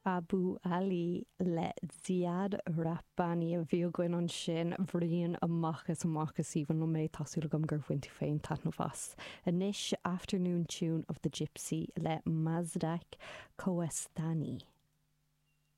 Abu Ali le Ziad Rahbani a bhí againn ansin. Rian amach is amach is aoibhinn liom é, tá súil agam gur bhain tú féin taitneamh as. Anois, Afternoon Tune of the Gypsy le Mazdak Kohestani.